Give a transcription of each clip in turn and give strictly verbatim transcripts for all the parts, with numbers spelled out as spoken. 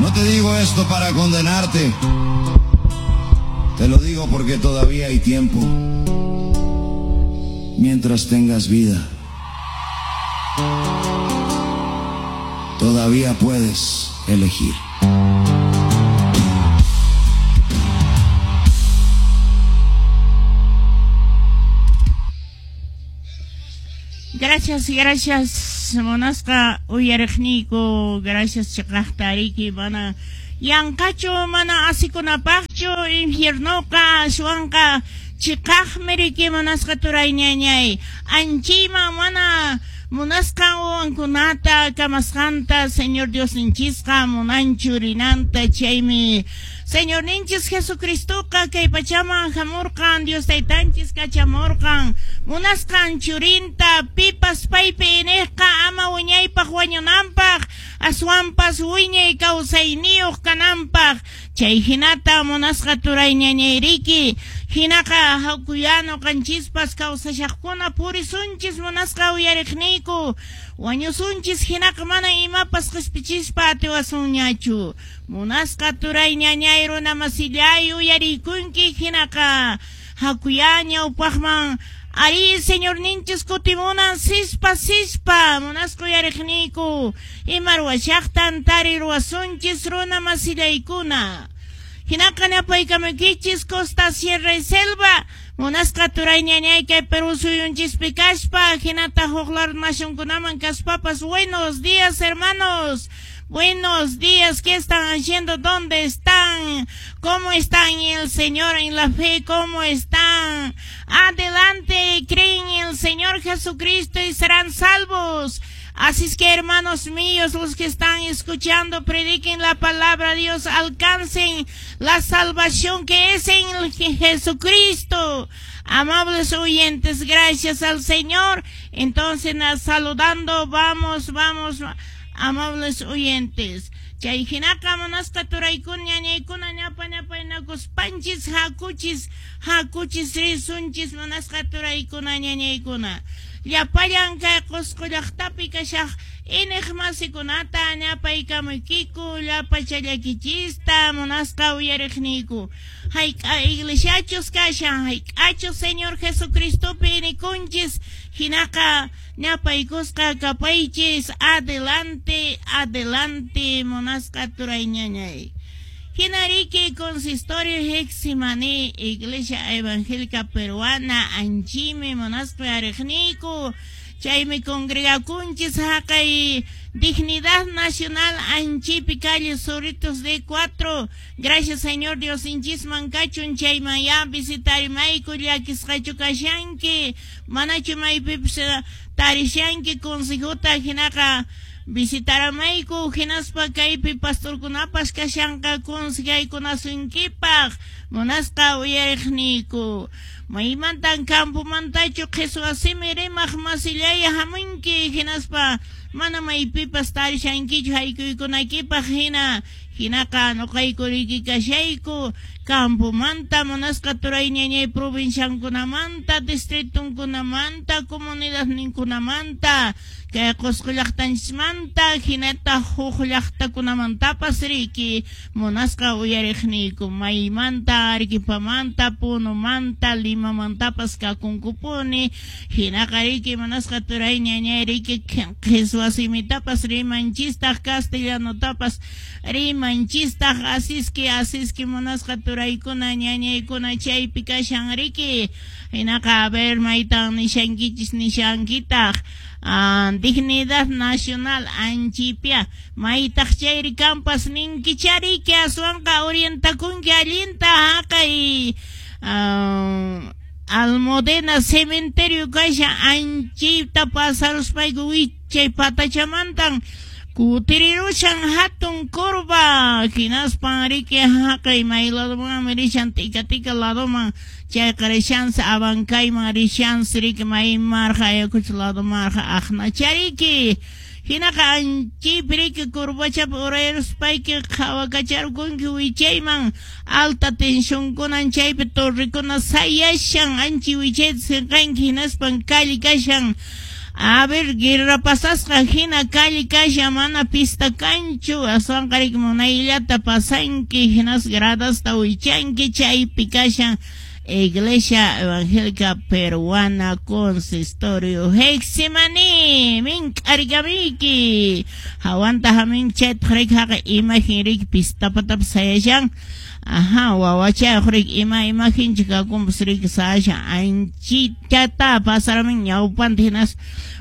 No te digo esto para condenarte. Te lo digo porque todavía hay tiempo. Mientras tengas vida, todavía puedes elegir. Gracias, gracias, monasqa uyariqniyku, gracias chiqaqtariki, mana yanqachu, mana asikunapaqchu, infiernoqa, aswanqa chiqaqmi riki munasqa turayñañay, anchiyman mana munasqan wawankunata kamasqanta Señor Diosninchisqa munanchu rinanta, chaymi Señor ninchis Jesucristoqa kay pachaman hamurqan, Dios taytanchis kachamurqan, munasqan churinta pipas paypi iniqqa ama wiñaypaq wañunanpaq, aswanpas wiñay kawsayniyuq kananpaq, chay hinata munasqa turayñañayriki, hinaqa hawkuyano qanchispas kawsashaqkuna purisunchis munasqa uyariqniyku, wañusunchis hinaqa mana imapas qispichispa atiwasunñachu, munasqa turayñañay runa masillay uyarikunki hinaqa hakuya ñawpaqman ari Señor ninchis kutimunan sispa sispa munasqa uyariqniyku ima ruwashaqtan tariruwasunchis runa masillaykuna. Hinaqa napaykamukichis costa, sierra y selva, munasqa turayñañay kay Perú suyunchispi kaspa, hinata huk nacionkunaman kaspapas. Buenos días, hermanos. Buenos días, ¿qué están haciendo? ¿Dónde están? ¿Cómo están en el Señor, en la fe? ¿Cómo están? Adelante, creen en el Señor Jesucristo y serán salvos. Así es que, hermanos míos, los que están escuchando, prediquen la palabra de Dios, alcancen la salvación que es en el Jesucristo. Amables oyentes, gracias al Señor. Entonces, saludando, vamos, vamos, amables oyentes. Chay hinaqa munasqa turaykuna ñañaykuna ñapa ñapaynakuspanchis hakuchis hakuchis risunchis munasqa turaykuna ñañaykuna. Llapallan kay Qusqu llaqtapi kashaq iniq masikunata ñapaykamuykiku llapachallakichista munasqa uyariqniyku. Hayk'a iglesiachus kashan, hayk'achus Señor Jesucristopi inikunchis, hinaqa ñapaykusqa kapaychis, adelante, adelante munasqa turayñañay. Hinariki Consistorio Getsemaní, Iglesia Evangélica Peruana, anchimi munasqa uyariqniyku, chaymi congregakunchis haqay Dignidad Nacional anchipi calle Zorritos de cuatro. Gracias Señor Dios inchisman kachun chayman ya visitarimayku llakisqachu kashanki, manachu maypipis tarishanki consejota hinaqa visitaramayku hinaspa kaypi pastorkunapas kashanqa consejaykunasunkipaq munasqa uyariqniyku. Maymantan campomantachu qhiswa simi rimaq masillay hamunki hinaspa mana maypipas tarishankichu haykuykunaykipaq hina hinaqa nuqayku riki kashayku campomanta munasqa turayñañay provinciankunamanta distritunkunamanta comunidadninkunamanta kay Qusqu llaqtanchismanta hinata huk llaqtakunamantapas riki munasqa uyariqniyku maymanta Arequipamanta Punomanta Limamantapas kakunkupuni hinaqa riki munasqa turayñañay riki qhiswa simitapas rimanchistaq castellanotapas rimanchistaq asiski asiski munasqa turaykuna ñañaykuna chaypi kashan riki hinaqa a ver maytan nishankichis nishankitaq. Ah, Dignidad Nacional anchipia maytaq chayri kampas ninkichariki aswanqa orientakunki allinta haqay ah, Almudena cementerio kashan anchita pasaruspayku wichay patachamantan Kutirirushan hatun kurva, hinaspan riki haqay may ladoman rishan tika tika ladoman, chayqa rishansi abankayman rishansi riki may marqa Ayacucho ladomarqa aqnachariki. Hinaqa anchaypi riki kurvachapi urayaruspayki qhawakacharqunki wichayman, alta tensionkunan chaypi torrekuna sayashan anchi wichayta sinqanki hinaspan calle kashan. A ver, guerra pasasqa hina calle kasha mana pista kanchu, aswanqa riki munayllata pasanki, hinas gradasta wichanki, chaypi kashan Iglesia Evangélica Peruana Consistorio Getsemaní mink'arkamiki hawanta hamin chaytaq riki haqay imagen riki pista patapi sayashan. Ajá, wawachayuq riki ima imagencha kakunpas riki sayashan anchitata pasaramin ñawpanta hinas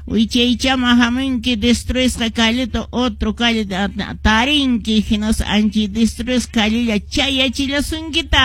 wichaychama haminki destruisqa calleta otro calle tarinki hinas anchi destruisqa callella chayachillasunkita.